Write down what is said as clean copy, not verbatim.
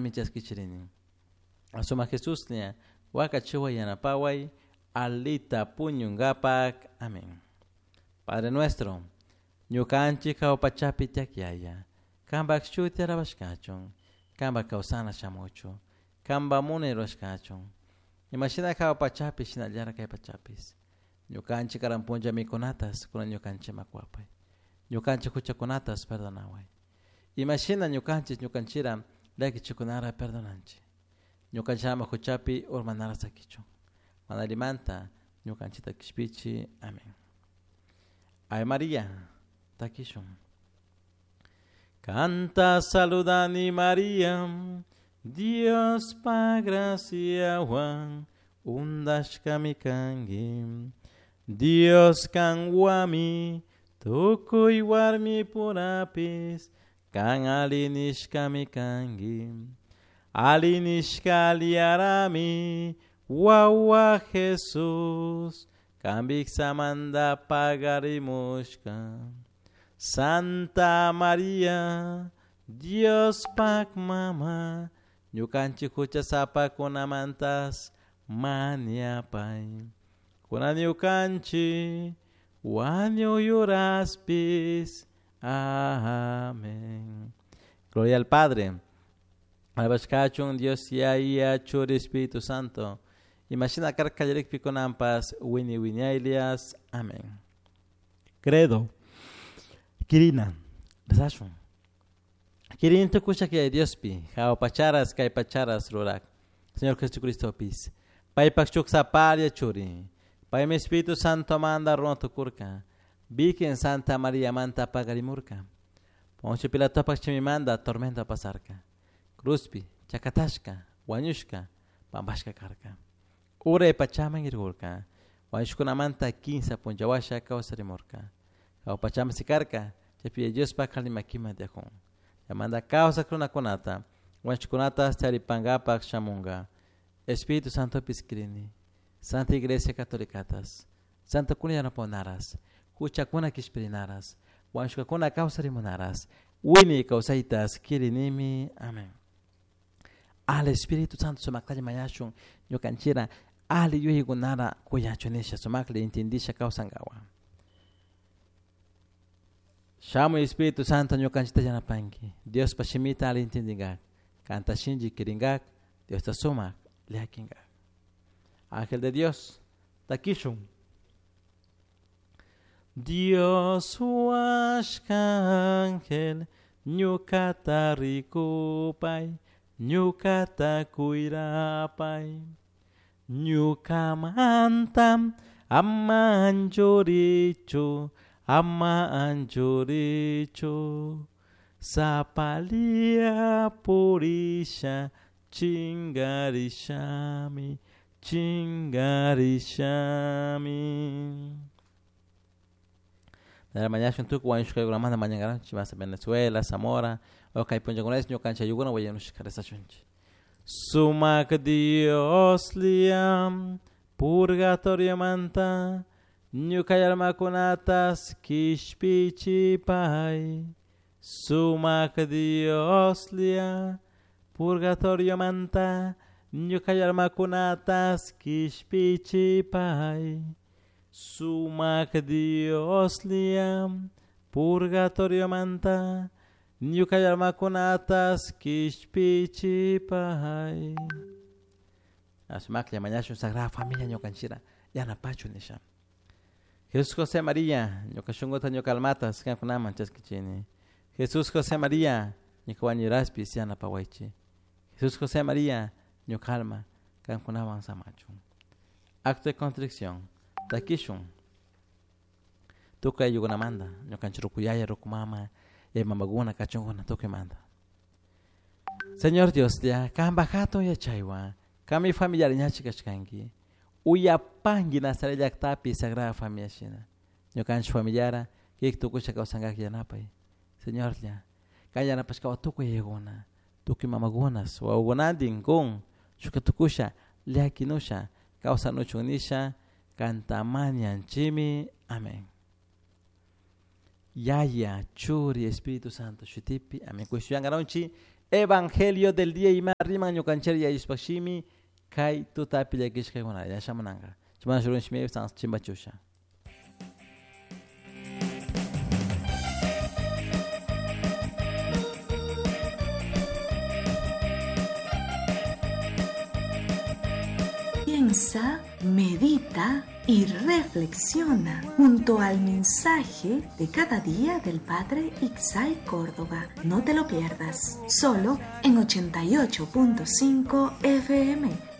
Chaskichirini. Suma Jesuslla wakachiway yanapaway alita puñunkapak. Amén. Padre nuestro, ñukanchik jahua pachapi tiyak Yaya, kanpak shuti alabashkachun, kanpak kawsana shamuchun, kanpak munay rurashkachun. Imashina jahua pachapi shinallara kay pachapis. Ñukanchik karan punlla mikunatas kunan ñukanchikman kuwapay. Ñukanchik huchakunatas perdonaway. Imashina ñukanchik ñukanchira llakichikunara perdonanchik. Ñukanchik ama huchapi urmanara sakichun. Mana allimanta ñukanchikta kishpichi. Amén. Ave María, takishun. Kanta saludani María, Diospa graciahuan undashkami kanki. Dios kanhuami tukuy warmipurapis kan alli nishkami kanki. Alli nishka alliarami wawa Jesús kan vijsamanta pagarimushka. Santa María, Diospak mama, ñukanchik huchasapakunamantas mañapay. Kunan ñukanchik wañuy uraspis. Amén. Gloria al Padre. Alabashkachun Dios Yaya Churi Espíritu Santo. Imashina karka kallarikpi kunanpas wini wiñaylias. Amén. Credo. Kirina. Rezashun. Kirin tukusha kay Diospi, jahua pacharas kay pacharas rurak. Señor Jesucristopis. Paypak shuk sapalla churi. Paymi Espíritu Santo manda runa tukurka. Virgen Santa María manta pagarimurka. Poncio Pilatopak chimimanda tormento pasarka. Cruzpi, chakatashka, wañushka, pampashka karka. Uray pachaman irkurka. Wañushkunamanta kinsa punllawasha kawsarimurka. Jahua pachaman sikarka, chaypi Diospak alli makiman tiyakun. Chaymanta kawsak runakunata, wañushkunata charipankapak shamunka. Espíritu Santopis kirini. Santa Iglesia Catolicatas. Santokuna yanapahunaras, huchakuna kishpirinaras, wañushkakuna kawsarimunaras, wiñay kawsaytas kirinimi. Amén. Al Espíritu Santo sumaktalla mañashun ñukanchira ali yuyaykunara kuyachun nisha sumaklla intindisha kawsankawa. Shamuy Espíritu Santo ñukanchita yanapanki. Diospa shimita ali intindinkak. Kanta shinchi kirinkak. Diosta sumak llakinkak. Ángel de Dios, takishun. Dios huashka ángel, ñukata rikupay, ñukata kuyrapay. Ñukamanta ama anchurichu, ama anchurichu. Sapalia purisha, chingarishami, chingarishami. Mañashun tukuy wañushkaykunamanta mañankaranchik masa Venezuela, Zamora, o kay punllakunapish ñukanchik ayllukuna wañushka rezashunchik. Sumak Dios liam purgatoriomanta ñuka almakunatas kishpichipay. Sumak Dios lia purgatoriomanta ñuka almakunatas kishpichipay. Sumak Dios lia purgatoriomanta ñuka almakunatas kishpichipay. Sumaklla mañashun Sagrada Familia ñukanchira yanapachun nisha. Jesús José María, ñuka shunkuta ñuka almatas kankunaman chaskichini. Jesús José María, ñuka wañuraspis yanapawaychik. Jesús José María, ñuka alma kankunawan samachun. Acto de contrición. Takishun. Tukuy ayllukunamanta, ñukanchik ruku yaya, ruku mama, yaya mamakuna, kachunkuna, tukuymanta. Señor Dios, ya, kanpak hatun yachaywan, kanmi familiar ñachi kashkanki. Uyapanki Nazaret llaktapi Sagrada Familia shina. Ñukanchik familiara, kik tukusha kawsankak yanapay. Señorlla, kan yanapashkawan tukuy yayakuna, tukuy mamakunas, wawakunantin kun, shuka tukusha, llakinusha, kawsanuchun nisha, kanta mañanchimi. Amén. Yaya, Churi, Espíritu Santo, shutipi. Amén. Kushyangaronchi, Evangelio del día ima riman ñukanchik yayushpashimi kay tutapi llakishkakuna yashamunanka. Chimana shurun shimi chimbachusha. Piensa, medita y reflexiona junto al mensaje de cada día del Padre Ixay Córdoba. No te lo pierdas, solo en 88.5 FM.